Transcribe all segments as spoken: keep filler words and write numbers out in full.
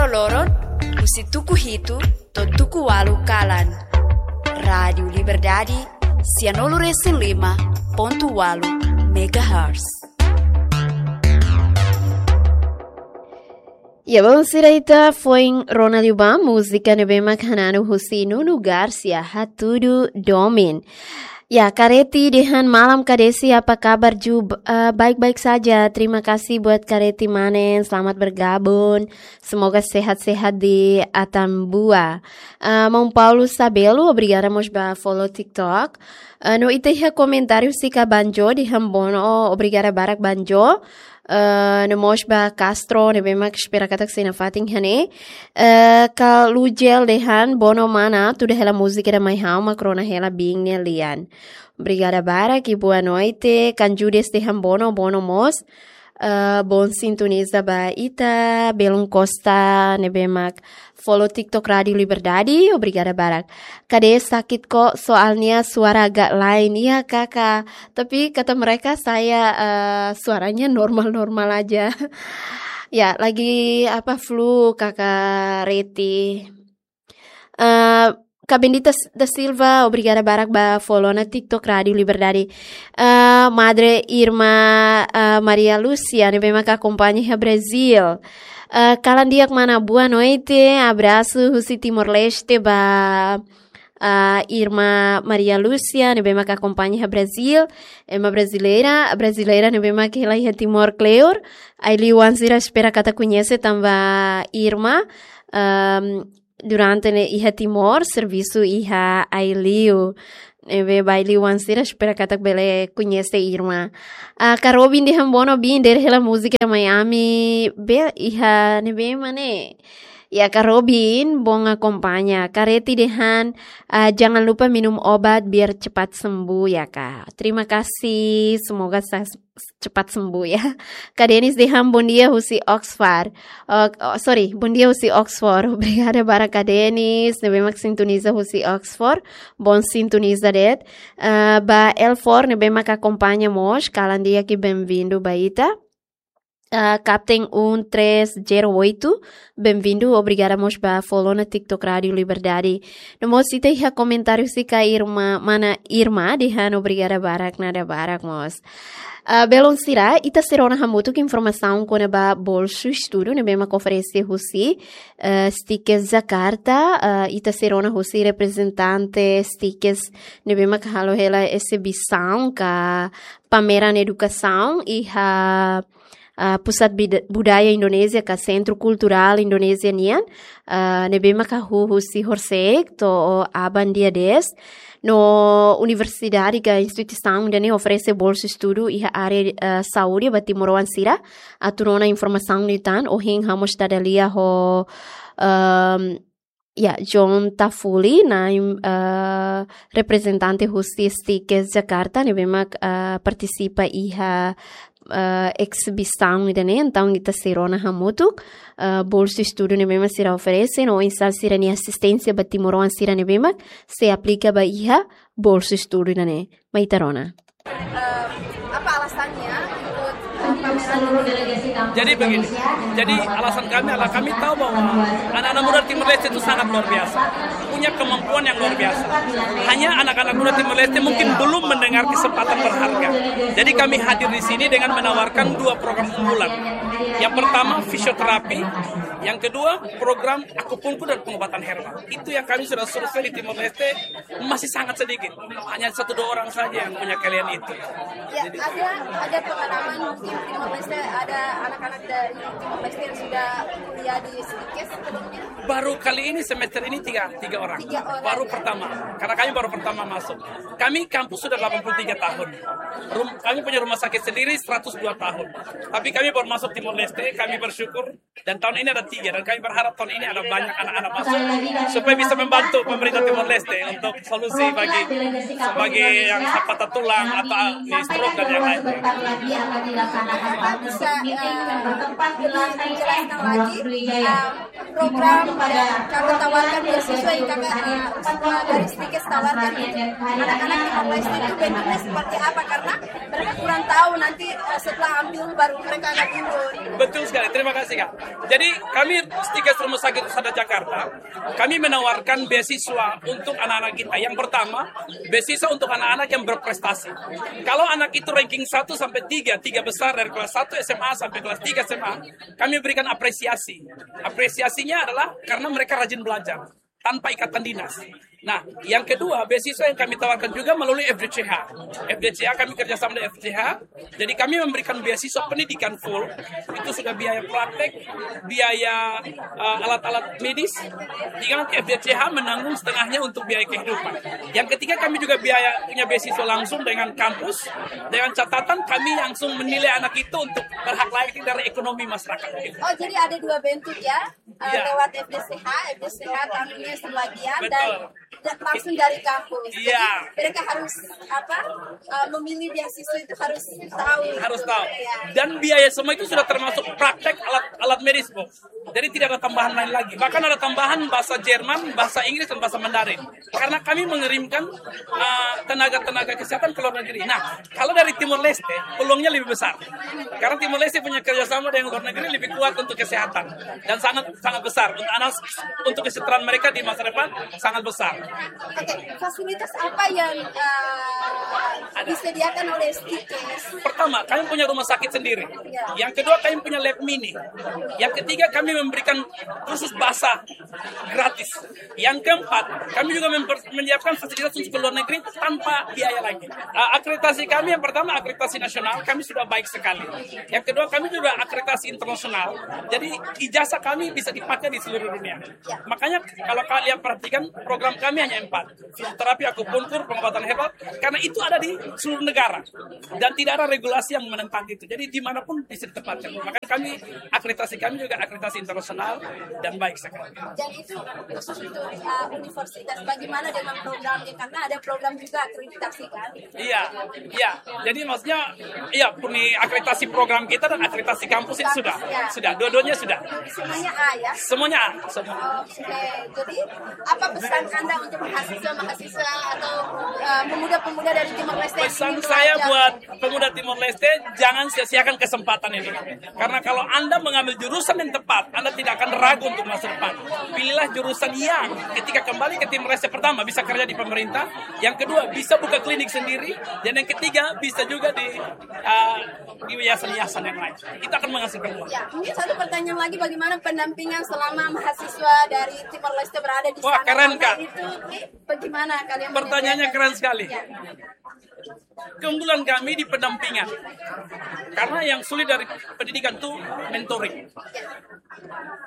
Loron, husi tuku hitu to'o tuku ualu kalan. Rádiu Liberdade, sianulu resin lima pontu ualu megahertz. Ya, bom, sira ita foin rona liu ba múzika ne'ebé mak hananu husi Nuno Garcia, Hatudu Domin. Ya, Kareti dehan malam Kadesi, apa kabar Ju? B-, eh, baik-baik saja. Terima kasih buat Kareti Manen, selamat bergabung. Semoga sehat-sehat di Atambua. Eh, Maun Paulo Sabelo, obrigada mós ba follow TikTok. Eh, no ita iha komentáriu husi Kabanjo dehan bono, obrigada barak Banjo. Eh, no mós ba Castro, ne'ebé mak espera katak sei nafatin iha ne'e. Eh, Kalujel dehan bono mana, tuda hela múzika ida mai ha'u mak rona hela biin nia lian. Obrigada barak i boa noite. Kanjudes dehan bono, bono mós. Eh, bom sintoniza ba ita, Belun Costa, ne'ebé mak follow TikTok Rádiu Liberdade, obrigada barak. Kade sakit kok, soalnya suara agak lain. Iya, Kakak. Tapi kata mereka saya, eh, suaranya normal-normal aja. Ya, lagi apa, flu, Kakak Reti. Eh, Kak Bendita S-, da Silva, obrigada barak ba follow ona TikTok Rádiu Liberdade. Eh, Madre Irma, eh, Maria Lúcia, ne'ebé mak akompaña iha Brazil. Eh, kalan di'ak mana, boa noite, abrasu husi Timor-Leste ba, ah, Irma Maria Lúcia, ne'ebé mak akompaña iha Brazil, ema brasileira, brasileira ne'ebé mak hela iha Timor kleur, ai-liu oan sira espera katak koñese tanba Irma, ehm, durante ne'e iha Timor, servisu iha ai-liu. Ne'ebé ba ai-liu oan sira espera katak bele koñese Irma. Ah, Kak Robin dehan bono biin, dere hela múzika Miami, be iha ne'ebé mak ne'e. Ya, Kak Robin, bom akompaña. Kareti dehan, ah, jangan lupa minum obat biar cepat sembuh ya, Kak. Terima kasih, semoga sa-, cepat sembuh ya. Kak Denis dehan bom dia husi Oxford. Oh, oh, sorry, bom dia husi Oxford. Obrigada barak Kak Denis, ne'ebé mak sintoniza husi Oxford. Bom sintoniza de'it. Ah, ba Elfor, ne'ebé mak akompaña mós, kalan di'ak i bem-vindu ba ita. Ah, Captain um três zero oito, bem-vindu, obrigada mós ba follow ona TikTok Rádiu Liberdade. No mós ita iha komentáriu husi Kak Irma, mana Irma, dehan obrigada barak, nada barak mós. Ah, belun sira, ita sei rona hamutuk informasaun kona-ba bolsu estudu ne'ebé mak oferese husi, eh, Stikes Jakarta, eh, ita sei rona husi reprezentante Stikes ne'ebé mak halo hela ezibisaun ka pameran edukasaun iha, ah, Pusat Bida-, Budaya Indonézia ka Sentru Kulturál Indonézia nian, ah, ne'ebé mak hahú husi horisehik to'o aban dia dez. No universidade ka instituisaun ida-ne'e oferese bolsu estudu iha área, ah, saúde ba timoroan sira. Atu rona informasaun liután, ohin ha'u mós dada lia ho, ehm, ya, John Tafuli, na'in, eh, reprezentante husi Stikes Jakarta, ne'ebé mak, eh, partisipa iha, eh, ezibisaun ida-ne'e, entaun ita sei rona hamutuk, eh, bolsu estudu ne'ebé mak sira oferese, no oinsá sira-nia asisténsia ba timoroan sira ne'ebé mak sei aplika ba iha bolsu estudu ida-ne'e. Mai ita rona. Eh, apa alasannya ikut, eh, pameran ini? Jadi begini, jadi alasan kami adalah kami tahu bahwa anak-anak muda Timor Leste itu sangat luar biasa, punya kemampuan yang luar biasa. Hanya anak-anak muda Timor Leste mungkin belum mendengar kesempatan berharga. Jadi kami hadir di sini dengan menawarkan dua program unggulan. Yang pertama fisioterapi, yang kedua program akupunkur dan pengobatan herbal. Itu yang kami sudah survei di Timor Leste, masih sangat sedikit. Hanya satu dua orang saja yang punya keahlian itu. Ya, ada, ada pengalaman mungkin Timor Leste, ada anak-anak dari Timor Leste yang sudah kuliah di Stikes sebelumnya? Baru kali ini, semester ini tiga, tiga orang. Tiga orang. Baru pertama, karena kami baru pertama masuk. Kami kampus sudah delapan puluh tiga tahun. Rum-, kami punya rumah sakit sendiri seratus dua tahun. Tapi kami baru masuk Timor Leste, kami bersyukur. Dan tahun ini ada tiga, dan kami berharap tahun ini ada banyak anak-anak masuk supaya bisa membantu pemerintah Timor Leste untuk solusi bagi, sebagai yang patah tulang atau di stroke dan yang lain. Bisa, eh, lebih menjelaskan lagi, eh, program yang kami tawarkan, beasiswa yang kami, eh, dari Stikes tawarkan untuk anak-anak Timor Leste itu bentuknya seperti apa, karena mereka kurang tahu, nanti, eh, setelah ambil baru mereka akan mundur. Betul sekali, terima kasih, Kak. Jadi, kami Stikes Rumah Sakit Husada Jakarta, kami menawarkan beasiswa untuk anak-anak kita. Yang pertama, beasiswa untuk anak-anak yang berprestasi. Kalau anak itu ranking satu sampai tiga, tiga besar dari kelas satu S M A sampai kelas tiga S M A, kami berikan apresiasi. Apresiasinya adalah karena mereka rajin belajar tanpa ikatan dinas. Nah, yang kedua, beasiswa yang kami tawarkan juga melalui F D C H. F D C H, kami kerjasama dengan F D C H. Jadi, kami memberikan beasiswa pendidikan full. Itu sudah biaya praktek, biaya, eh, alat-alat medis. Jika nanti F D C H menanggung setengahnya untuk biaya kehidupan. Yang ketiga, kami juga biaya punya beasiswa langsung dengan kampus. Dengan catatan, kami langsung menilai anak itu untuk berhak layak dari ekonomi masyarakat. Oh, jadi ada dua bentuk, ya? Eh, Iya. Lewat F D C H, F D C H tanggungnya sebagian dan, Betul. dan langsung dari kampus. Iya. Jadi, mereka harus apa? Eh, memilih beasiswa itu harus tahu. Harus tahu. Ya. Dan biaya semua itu sudah termasuk praktek alat alat medis, Bu. Jadi, tidak ada tambahan lain lagi. Bahkan ada tambahan bahasa Jerman, bahasa Inggris, dan bahasa Mandarin. Karena kami mengirimkan, uh, tenaga-tenaga kesehatan ke luar negeri. Nah, kalau dari Timor Leste, peluangnya lebih besar. Karena Timor Leste punya kerjasama dengan luar negeri lebih kuat untuk kesehatan. Dan sangat sangat besar. Untuk anak, untuk kesejahteraan mereka di masa depan sangat besar. Oke, fasilitas apa yang eh, disediakan oleh Stikes? Pertama, kami punya rumah sakit sendiri. Yang kedua, kami punya lab mini. Yang ketiga, kami memberikan kursus bahasa gratis. Yang keempat, kami juga memper- menyiapkan fasilitas untuk ke luar negeri tanpa biaya lagi. Uh, akreditasi kami yang pertama akreditasi nasional, kami sudah baik sekali. Yang kedua, kami juga akreditasi internasional. Jadi, ijazah kami bisa dipakai di seluruh dunia. Makanya, kalau kalian perhatikan, program kami hanya empat: fisioterapi, akupuntur, pengobatan herbal, karena itu ada di seluruh negara dan tidak ada regulasi yang menentang itu. Jadi, dimanapun bisa ditempatkan. Makanya, kami akreditasi kami juga akreditasi internasional dan baik sekali. Dan itu khusus untuk uh, universitas. Bagaimana dengan programnya? Karena ada program juga akreditasi, kan? Iya, iya. Jadi, maksudnya, iya, puni akreditasi program kita dan akreditasi kampus itu sudah, sudah, dua-duanya sudah. Semuanya A, ya? Semuanya A, semua. Oke, jadi apa pesan Anda untuk mahasiswa-mahasiswa atau eh, pemuda-pemuda dari Timor Leste? Pesan saya buat pemuda Timor Leste, jangan sia-siakan kesempatan ini. Karena kalau Anda mengambil jurusan yang tepat, Anda tidak akan ragu untuk masa depan. Pilihlah jurusan yang ketika kembali ke Timor Leste, pertama, bisa kerja di pemerintah, yang kedua, bisa buka klinik sendiri, dan yang ketiga, bisa juga di uh, di yayasan-yayasan yang lain. Itu akan menghasilkan uang. Ya, mungkin satu pertanyaan lagi, bagaimana pendampingan selama mahasiswa dari Timor Leste berada di Wah, sana? Keren, Karena Kak. Itu, eh, bagaimana kalian Pertanyaannya menyediakan? Keren sekali. Ya. Keunggulan kami di pendampingan. Karena yang sulit dari pendidikan itu mentoring.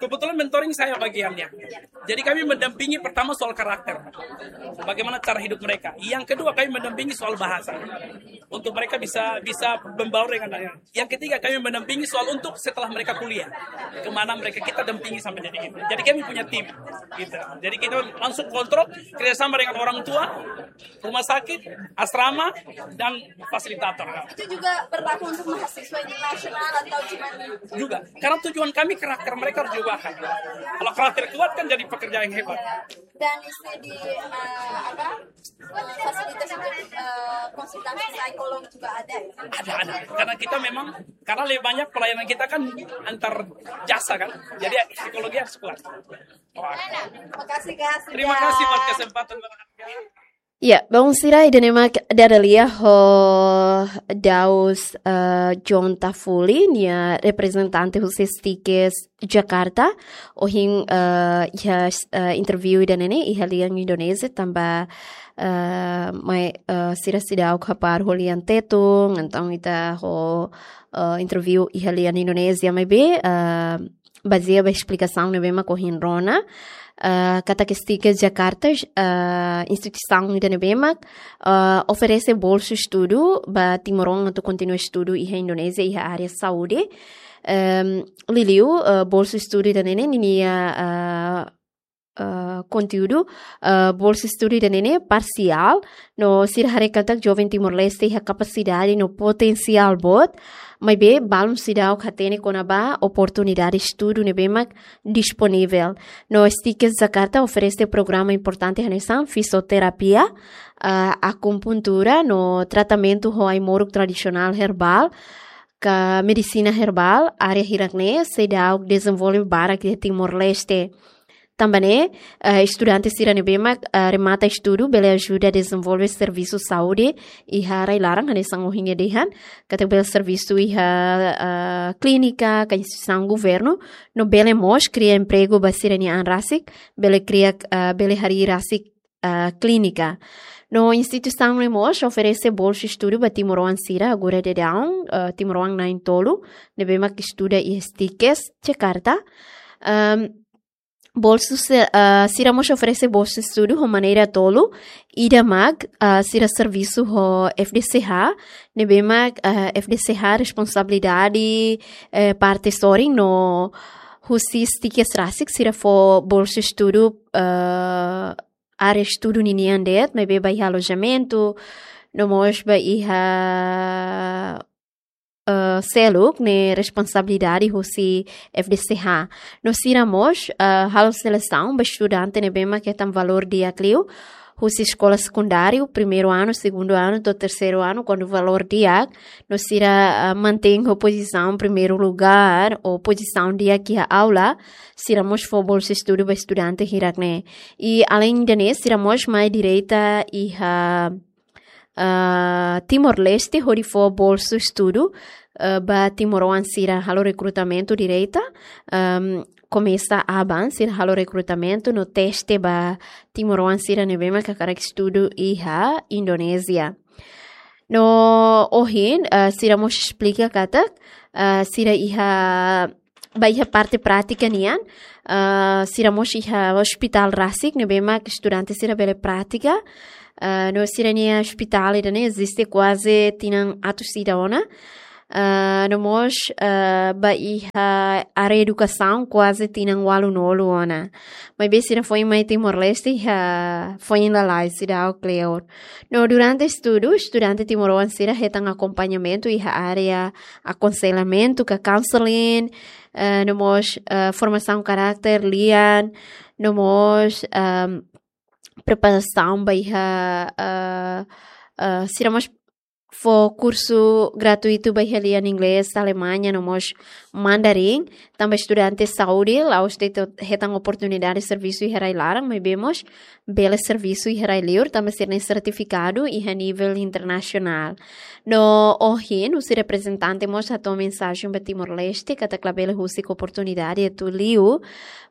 Kebetulan mentoring saya bagiannya. Jadi kami mendampingi pertama soal karakter. Bagaimana cara hidup mereka. Yang kedua kami mendampingi soal bahasa. Untuk mereka bisa bisa membaur dengan yang. Yang ketiga kami mendampingi soal untuk setelah mereka kuliah. Kemana mereka kita dampingi sampai jadi gitu. Jadi kami punya tim. Gitu. Jadi kita langsung kontrol kerjasama dengan orang tua, rumah sakit, asrama, dan fasilitator. Itu juga berlaku untuk mahasiswa internasional atau cuma Juga, karena tujuan kami karakter mereka harus diubahkan. Kalau karakter kuat kan jadi pekerja yang hebat. Dan itu di eh, apa eh, fasilitas untuk eh, konsultasi psikolog juga ada, ya? Ada, ada. Karena kita memang karena lebih banyak pelayanan kita kan antar jasa kan. Jadi psikologi harus kuat. Makasih, Kak. Terima kasih buat kesempatan berharga. Ya, bom, sira ida-ne'e mak dada lia ho Daus eh, John Tafuli, nia reprezentante husi Stikes Jakarta. Ohin eh, iha eh, interview ida-ne'e ne'e iha lian Indonézia tanba eh, mai eh, sira seidauk hapar ho lian Tetun, entaun ita ho eh, interview iha lian Indonézia maibé eh, bazeia ba esplikasaun ne'ebé mak ohin rona, eh, katak Stikes Jakarta, eh, instituisaun ida ne'ebé mak eh, oferese bolsu estudu ba timoroan atu kontinua estudu iha Indonézia iha área saúde. Em, liuliu eh, bolsu estudu ida-ne'e ne'e ninia eh, eh, konteúdu eh, bolsu estudu ida-ne'e ne'e parsiál, no sira haree katak joven Timor-Leste iha kapasidade no potensiál boot, maibé balun seidauk hatene kona-ba oportunidade estudu ne'ebé mak disponivel. No Stikes Jakarta oferese programa importante hanesan fisioterapia, eh, akupuntura no tratamentu ho ai-moruk tradisionál herbál, ka medisina herbál, área hirak-ne'e seidauk dezenvolve barak iha Timor-Leste. Tanba ne'e, eh, estudante sira ne'ebé mak, eh, remata estudu bele ajuda dezenvolve servisu saúde iha rai-laran, hanesan ohin ha'u dehan, katak bele servisu iha, eh, klínika, ka instituisaun governu, no bele mós kria empregu ba sira-nia an rasik, bele kria, eh, bele harii rasik, eh, klínika. No instituisaun ne'e mós oferese bolsa estudu ba timoroan sira agora daudaun, eh, timoroan na'in-tolu, ne'ebé mak estuda iha STIKES, Jakarta. Ehm, bolsa se-, eh, sira mós oferese bolsa estudu ho maneira tolu, ida mak, eh, sira servisu ho F D C H, ne'ebé mak, eh, F D C H responsabilidade, eh, parte sorin no husi STIKES rasik sira fó bolsa estudu, eh, área estudu ninian de'it, maibé ba iha alojamentu, no mós ba iha, eh, seluk ne'e responsabilidade husi F D C H. No sira mós, eh, halo selesaun ba estudante ne'ebé mak hetan valór di'ak liu, husi eskola sekundáriu, primeiru anu, segundu anu, to'o terseiru anu, kuandu valór di'ak, no sira, ah, mantein ho pozisaun primeiru lugár, ou pozisaun di'ak iha aula, sira mós fó bolsa estudu ba estudante hirak-ne'e. I aleinde ne'e, sira mós mai direta iha, ah, Timor-Leste, hodi fó bolsa estudu, ah, ba timoroan sira halo rekrutamentu direta, ahm, komesa aban sira halo rekrutamentu no teste ba timoroan sira ne'ebé mak hakarak estudu iha Indonézia. No ohin, ah, sira mós esplika katak, ah, sira iha, ba iha parte prátika nian, ah, sira mós iha ospitál rasik ne'ebé mak estudante sira bele prátika, ah, no sira-nia ospitál ida-ne'e eziste kuaze tinan atus ida ona. Ah, no mós, ah, ba iha área edukasaun kuaze tinan ualunulu ona. Maibé sira foin mai Timor-Leste iha foin lalais, seidauk kleur. No durante estudu, estudante timoroan sira hetan akompañamentu iha área akonsellamentu ka counseling, ah, no mós, ah, formasaun karáter lian, no mós, ahm, preparasaun ba iha, ah, ah, sira mós fó kursu gratuitu ba iha lian inglés, Alemanha, no mós Mandarin. Tanba estudante saúde, la'ós de'it hetan oportunidade servisu iha rai-laran, maibé mós bele servisu iha rai-liur, tanba sira-nia sertifikadu iha nivel internasionál. No ohin, husi reprezentante mós hato'o mensajen ba Timor-Leste, katak labele husik oportunidade atu liu,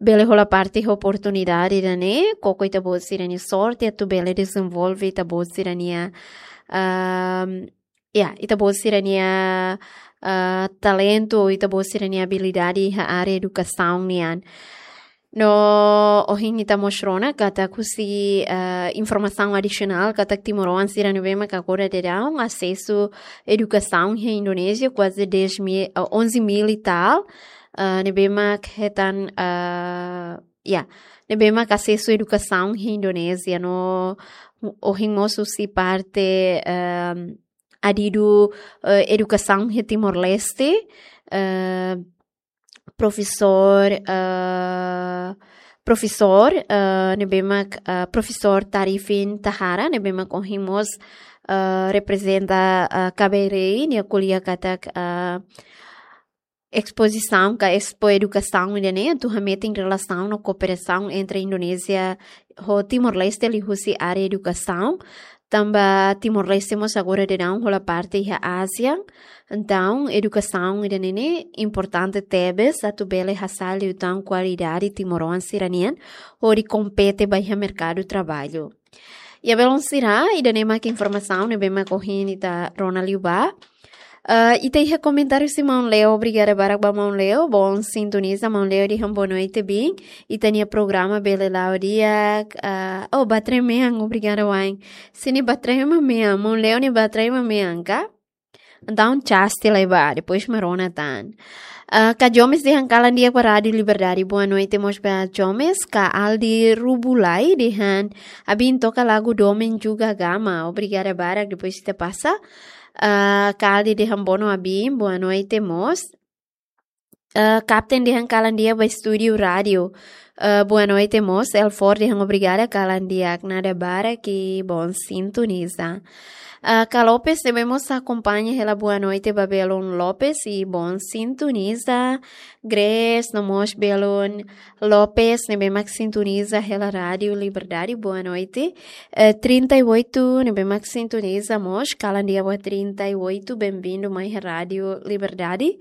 bele hola parte oportunidade ida-ne'e, koko ita-boot sira-nia sorte, atu bele dezenvolve ita-boot sira-nia, ahm, ya, ita-boot sira-nia, ah, talentu, ita-boot sira-nia abilidade iha área edukasaun nian. No ohin ita mós rona katak husi, ah, informasaun adisionál, katak timoroan sira ne'ebé mak agora daudaun asesu edukasaun iha Indonézia kuaze dez mil, ah, onze mil e tal, ah, ne'ebé mak hetan, ah, ya, ne'ebé mak asesu edukasaun iha Indonézia. No ohin mós husi parte, ahm, adidu, eh, edukasaun iha Timor-Leste, eh, profesór, eh, profesór, eh, ne'ebé mak, eh, profesór Tarifin Tahara, ne'ebé mak ohin mós, eh, reprezenta, eh, KBRI, nia ko'alia katak, eh, espozisaun ka Expo Edukasaun ida-ne'e atu hametin relasaun no kooperasaun entre Indonézia ho Timor-Leste liuhusi área edukasaun. Tanba Timor-Leste mós agora daudaun hola parte iha ASEAN. Entaun, edukasaun ida-ne'e ne'e importante tebes atu bele hasa'e liután kualidade timoroan sira-nian hodi kompete ba iha merkadu traballu. Ya, belun sira, ida-ne'e mak informasaun ne'ebé mak ohin ita rona liu ba. Eh, ita iha komentáriu husi maun Leo, obrigada barak ba maun Leo, bom sintoniza, maun Leo dehan boa noite, bin. Ita-nia programa bele la'o di'ak, eh, oh, batrema mean, obrigada wa'in. Se nia batrema mean, maun Leo nia batrema mean ka? Entaun, cas tiha lai ba, depois mak rona tan. Ah, Ka Jomes dehan kalan di'ak ba Rádio Liberdade. Boa noite mós ba Jomes. Ka Aldi Rubulai dehan, abin toka lagu Domin Juga Gama. Obrigada barak, depois ita pasa. Ah, Ka Aldi dehan boa no abin, boa noite mós. Ah, Kapten dehan kalan di'ak ba estúdiu rádiu. Ah, boa noite mós. Elfor dehan obrigada, kalan di'ak, nada barak i bom sintoniza. Ah, Ka Lopes ne'ebé mós akompaña hela boa noite ba belun Lopes i bom sintoniza. Grace, no mós belun Lopes ne'ebé mak sintoniza hela Rádio Liberdade, boa noite. Eh, trinta e oito ne'ebé mak sintoniza mós, kalan di'ak ba trinta e oito, bem-vindo mai Rádio Liberdade.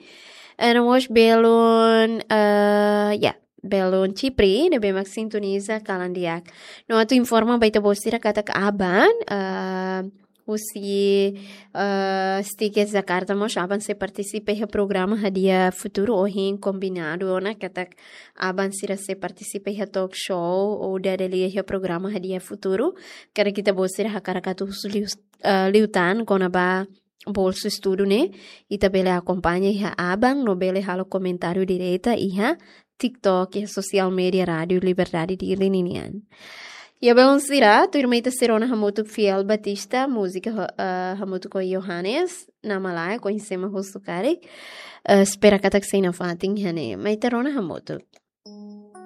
Eh, no mós belun, eh, ya, belun Chipre ne'ebé mak sintoniza, kalan di'ak. No atu informa ba ita-boot sira katak aban, eh, husi, eh, Stickers Jakarta mós aban sei partisipa iha programa Hadiah Futuru. Ohin kombinadu ona katak aban sira sei partisipa iha talk show ou dada lia iha programa Hadiah Futuru. Karik ita-boot sira hakarak atu husu liu, eh, liután kona-ba bolsu estudu ne'e, ita bele akompaña iha aban no bele halo komentáriu direta iha TikTok, iha sosiál media Rádio Liberdade Dili ninian. Ya, belun sira, tuirmai ita sei rona hamutuk Fiel Batista, múzika ho-, eh, hamutuk ho Johannes, Nama Laek, oinsá mak husu karik. Eh, espera katak sei nafatin iha ne'e, mai ita rona hamutuk.